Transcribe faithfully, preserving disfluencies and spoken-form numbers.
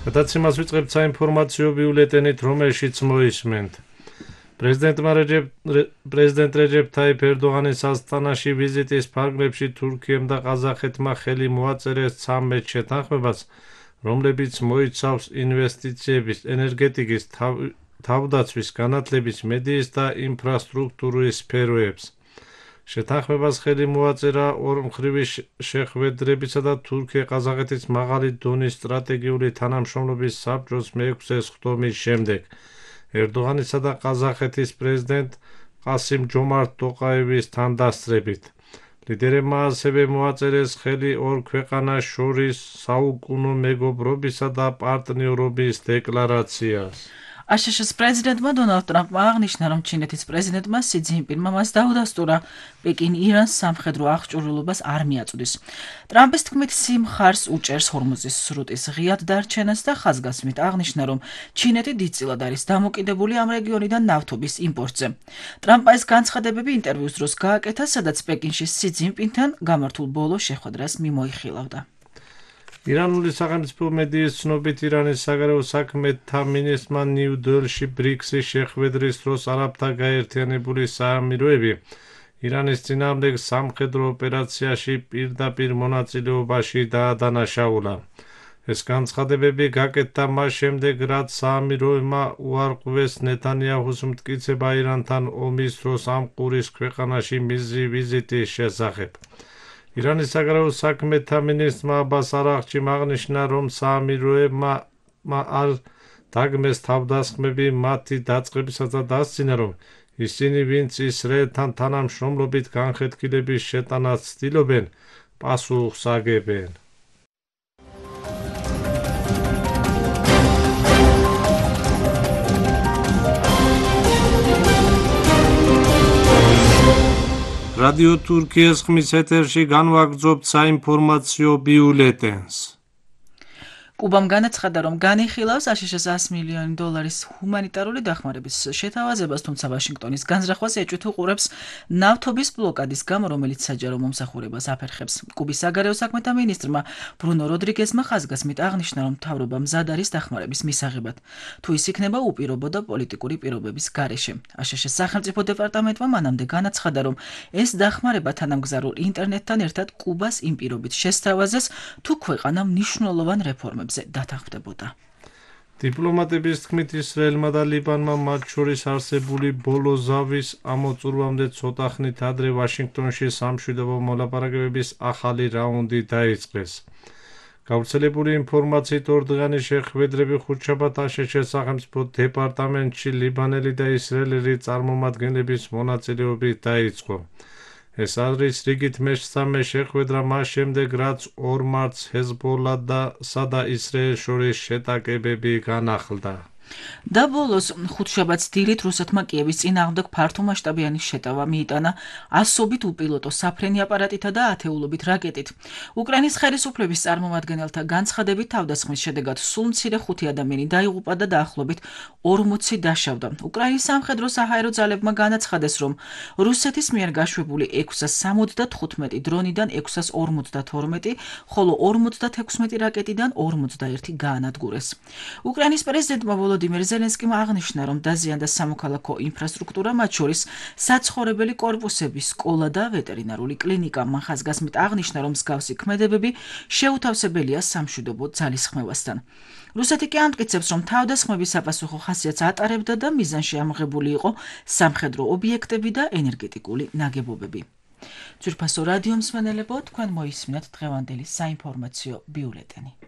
გადაცემას ვიწყებთ საინფორმაციო ბიულეტენით, რომელშიც მოისმენთ. პრეზიდენტ რეჯეფ თაიფ ერდოღანის ასტანაში ვიზიტის ფარგლებში თურქიამ და ყაზახეთმა ხელი მოაწერეს ცამეტ შეთანხმებას, რომლებიც მოიცავს ინვესტიციების, ენერგეტიკის, თავდაცვის, განათლების, მედიის და ინფრასტრუქტურის სფეროებს. შეთანხმებას ხელი მოაწერა ორმხრივი შეხვედრებისა და თურქია-ყაზახეთის მაღალი დონის სტრატეგიული თანამშრომლობის საბჭოს მეექვსე სხდომის შემდეგ. ერდოღანისა და ყაზახეთის პრეზიდენტ ყასიმ-ჯომართ ტოყაევის თანდასწრებით. ლიდერებმა ასევე მოაწერეს ხელი ორ ქვეყანას შორის საუკუნო მეგობრობისა და პარტნიორობის დეკლარაციას. აშშ-ის პრეზიდენტმა დონალდ ტრამპმა აღნიშნა, რომ ჩინეთის პრეზიდენტმა სი ძინპინმა მას დაუდასტურა პეკინი ირანს სამხედრო აღჭურვილობას არ მიაწვდის. ტრამპის თქმით, სი მხარს უჭერს ჰორმუზის სრუტის ღიად დარჩენას და ხაზგასმით აღნიშნა, რომ ჩინეთი დიდწილად არის დამოკიდებული ამ რეგიონიდან ნავთობის იმპორტზე. ტრამპმა ეს განცხადებები ინტერვიუს დროს გააკეთა, სადაც პეკინში სი ძინპინთან გამართულ ბოლო შეხვედრას მიმოიხილავდა. ირანული სახელმწიფო მედიის ცნობით, ირანის საგარეო საქმეთა მინისტრმა ნიუ-დელჰიში ბრიქსის შეხვედრის დროს არაბთა გაერთიანებული საამიროები ირანის წინააღმდეგ სამხედრო ოპერაციაში პირდაპირ მონაწილეობაში დაადანაშაულა. ეს განცხადებები გაკეთდა მას შემდეგ, რაც საამიროებმა უარყვეს ნეთანიაჰუს მტკიცება ირანთან ომის დროს ამ ყურის ქვეყანაში მისი ვიზიტის შესახებ. ირანის საგარეო საქმეთა მინისტრმა აბას არაღჩიმ აღნიშნა, რომ საამიროებმა არ დაგმეს თავდასხმები მათი დაწყებისას და დასძინა, რომ ისინი, ვინც ისრაელთან თანამშრომლობით განხეთქილების შეტანას ცდილობენ, პასუხს აგებენ. რადიო თურქიის ხმის ეთერში განვაგრძობთ საინფორმაციო ბიულეტენს. კუბამ განაცხადა, რომ განიხილავს აშშ-ს ას მილიონი დოლარის ჰუმანიტარული დახმარების შეთავაზებას, თუმცა ვაშინგტონის განზრახვას ეჭვით უყურებს ნავთობის ბლოკადის გამო, რომელიც საჯარო მომსახურებას აფერხებს. კუბის საგარეო საქმეთა მინისტრმა ბრუნო როდრიგესმა ხაზგასმით აღნიშნა, რომ მთავრობა მზად არის დახმარების მისაღებად, თუ ის იქნება უპირობო და პოლიტიკური პირობების გარეშე. აშშ-ის სახელმწიფო დეპარტამენტმა მანამდე განაცხადა, რომ ეს დახმარება თანამგზავრულ ინტერნეტთან ერთად კუბას იმ პირობით შესთავაზეს, თუ ქვეყანა მნიშვნელოვან რეფორმებს დათანხმდებოდა. დიპლომატების თქმით, ისრაელმა და ლიბანმა მათ შორის არსებული ბოლო ზავის ამოწურვამდე ცოტა ხნით ადრე ვაშინგტონში სამშვიდობო მოლაპარაკებების ახალი რაუნდი დაიწყეს. გავრცელებული ინფორმაციით, ორდღიანი შეხვედრები ხუთშაბათ აშშ-ის სახელმწიფო დეპარტამენტში ლიბანელი და ისრაელელი წარმომადგენლების მონაწილეობით დაიწყო. ეს არის რიგით მესამე შეხვედრა მას შემდეგ, რაც ორ მარტს ჰეზბოლასა და ისრაელს შორის შეტაკებები განახლდა. და ბოლოს ხუთშაბათს დილით რუსეთმა კიევის წინააღმდეგ ფართომასშტაბიანი შეტავა მიიტანა ასობით უპილოტო საფრენი აპარატითა და ათეულობით რაკეტით. უკრაინის ხელისუფლების წარმომადგენელთა განცხადებით, თავდასხმის შედეგად სულ მცირე ხუთი ადამიანი დაიღუპა და დაახლოებით ორმოცი დაშავდა. უკრაინის სამხედრო საჰაერო ძალებმა განაცხადეს, რომ რუსეთის მიერ გაშვებული ექვსას სამოცდათხუთმეტი დრონიდან ექვსას ორმოცდათორმეტი, ხოლო ორმოცდათექვსმეტი რაკეტიდან ორმოცდაერთი გაანადგურეს. უკრაინის პრეზიდენტმა ვოლოდიმირ ზელენსკიმ აღნიშნა, რომ დაზიანდა სამოქალაქო ინფრასტრუქტურა, მათ შორის საცხოვრებელი კორპუსები, სკოლა და ვეტერინარული კლინიკა. მან ხაზგასმით აღნიშნა, რომ მსგავსი ქმედებები შეუთავსებელია სამშვიდობო ძალისხმევასთან. რუსეთი კი ამტკიცებს, რომ თავდასხმები საპასუხო ხასიათს ატარებდა და მიზანში ამღებული იყო სამხედრო ობიექტები და ენერგეტიკული ნაგებობები. ძვირფასო რადიო მსმენელებო, თქვენ მოისმინათ დღევანდელი საინფორმაციო ბიულეტენი.